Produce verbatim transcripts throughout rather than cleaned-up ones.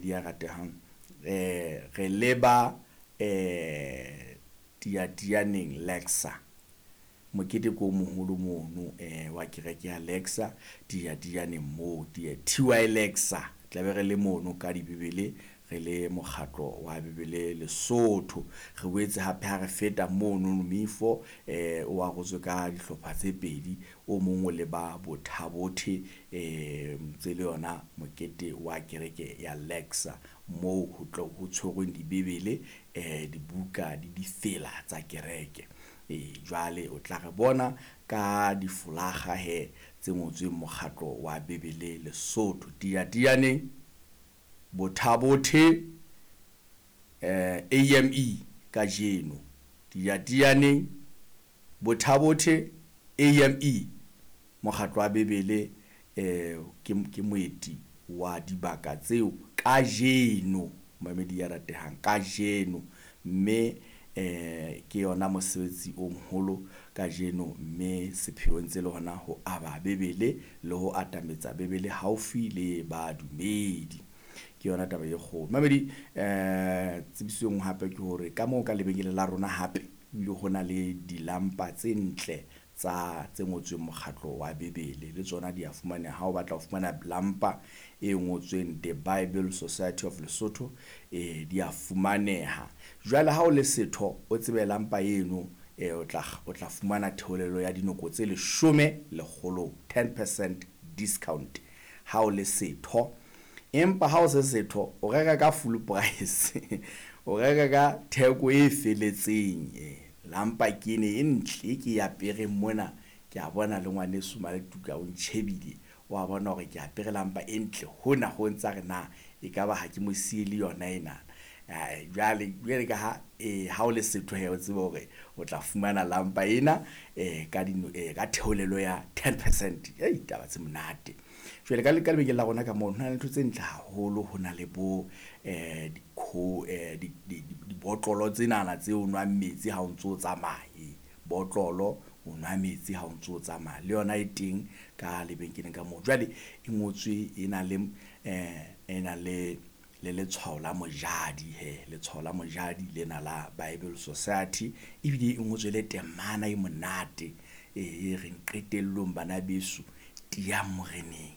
Mamedi ya ratehang, eh re leba eh Tiatianeng Lexa. Mokete ko moholo mono eh wa kereke ya Lexa Tiatianeng moo T Y Lexa. Tlabe re le mono ka dibibele, re le mokgatlo wa Bibele Lesotho. Re boetse hape ha re feta mono Mifo eh o arotswe ka dihlopha tse pedi, o mong o le ba Bothabothe eh ntse le yona mokete wa kereke ya Lexa moo ho tlo ho tshwerweng dibibele eh dibuka le difela tsa kereke. E jwale o tla re bona ka difolaga he tse ngotsweng mokgatlo wa Bibele Lesotho Tiatianeng Bothabothe eh A M E kajeno. Tiatianeng Bothabothe A M E mokgatlo wa Bibele eh ke ke moeti wa dibaka tseo kajeno, mamedi ya ratehang kajeno, mme eh ke yona mosebetsi o moholo kajeno, mme sepheo ntse le hona ho aba Bibele le ho atametsa Bibele haufi le badumedi. Ke yona taba e kgolo. Mamedi eh tsebiso e nngwe hape ke hore ka moo ka lebenkeleng la rona hape ebile ho na le dilampa tse ntle tsa tse ngotsweng mokgatlo wa Bibele, le tsona di a fumaneha. Ha o batla ho fumana lampa e ngotsweng The Bible Society of Lesotho eh di a fumaneha. Jwale ha o le setho o tsebe lampa eno eh o tla o tla fumana theolelo ya dinoko tse leshome lekgolong, ten percent discount ha o le setho. Empa ha o se setho o reka ka full price, o reka ka theko e feletseng. Eh lampa ke ene e ntle ke e apereng mona, ke a bona le ngwaneso Maletuka o ntjhebile, wa bona hore ke apere lampa e ntle hona ho ntsa re na ekaba ha ke mo siele yona ena. Jwale jwale ka ha eh ha o le setho he o tsebe hore o tla fumana lampa ena eh ka dino eh ka theolelo ya ten percent. Ei taba tse monate. Jwale ka ka lebenkeleng la rona ka moo ho na le ntho tse ntle haholo, ho na le bo eh dikho eh di dibotlolo tsenana tse o nwang metsi ha o ntso tsamaya, botlolo o nwa metsi ha o ntso tsamaya, le yona e teng ka lebenkeleng ka moo. Jwale e ngotswe e na le eh e na le le letshwao la mojadi he, letshwao la mojadi lena la Bible Society, ebile e ngotswe le temana e monate e reng qetellong bana beso tiyang moreneng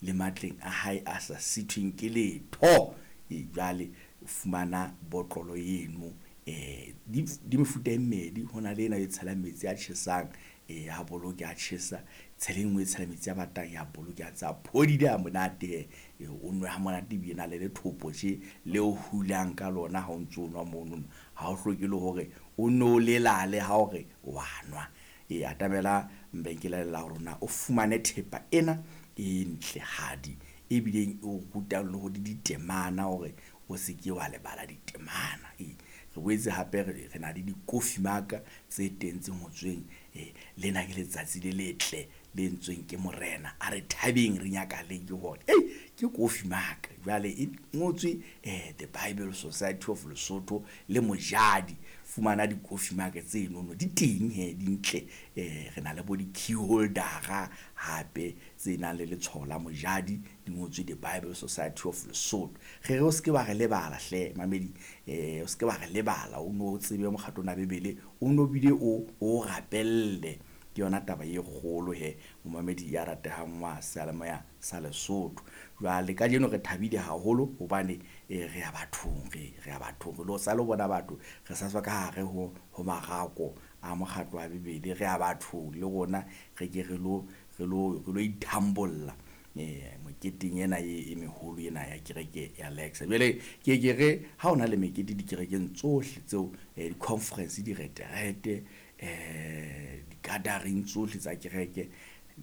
le matleng a hae a sa sithweng ke letho. E jwale o fumana botlolo eno eh di di mefuta e mmedi, ho na le ena e tshelang metsi a tjhesang eh a boloke a tjhesa, tshele e nngwe e tshela metsi a batang ya boloke a tsa phodile a monate, e o nwe ha monate ebile na le lethopo tje le o hulang ka lona ha o ntso nwa mono, ha o hloke le hore o no lelale ha hore wa nwa. E atamela lebenkele la rona o fumane thepa ena e ntle hadi ebileng o rutang le hore ditemana hore o se ke wa lebala ditemana. E re boetse hape re na le di-coffee mug tse teng tse ngotsweng eh lena ke letsatsi le letle le entsweng ke morena, a re thabeng re nyakaleng ke hona. Ei ke coffee mug jwale e ngotswe eh The Bible Society of Lesotho le mojadi. Fumana di-coffee mug tseno di teng he di ntle, eh re na le bo di-key holder hape tse nang le letshwao la mojadi di ngotswe The Bible Society of Lesotho. Re re o se ke wa re lebala hle mamedi, eh o se ke wa re lebala, o no tsebe mokgatlo wa Bibele o no bile o o rapelle. Ke yona taba e kgolo he momamedi ya ratehang wa seyalemoya sa Lesotho. Jwale kajeno re thabile haholo hobane eh re ya bathong, re re ya bathong, re lo sa lo bona batho, re sa tswa ka hare ho ho marako a mokgatlo wa Bibele, re ya bathong le rona re ke re lo re lo re lo ithambolla eh moketeng ena e meholo ena ya kereke ya Lexa. Jwale ke ke re ha hona le mekete dikerekeng tsohle tseo di-conference direterete eh di-gathering tsohle tsa kereke,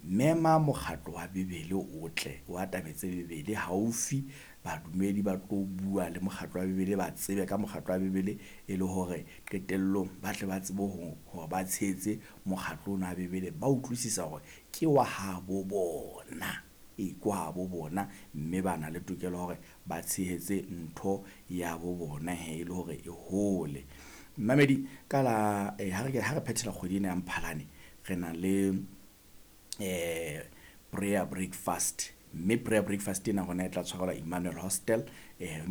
mema mokgatlo wa Bibele o tle o atametse Bibele haufi, badumedi ba tlo bua le mokgatlo wa Bibele, ba tsebe ka mokgatlo wa Bibele e le hore qetellong ba tle ba tsebe hore ba tshehetse mokgatlo ona wa Bibele, ba utlwisisa hore ke wa habo bona, e ke wa habo bona, mme ba na le tokelo ya hore ba tshehetse ntho ya bo bona he e le hore e hole. Mamedi ka la eh, ha re ha re phethela kgwedi ena ya Mphalane re na le eh prayer breakfast, mme prayer breakfast ena rona e tla tshwarelwa Emmanuel Hostel eh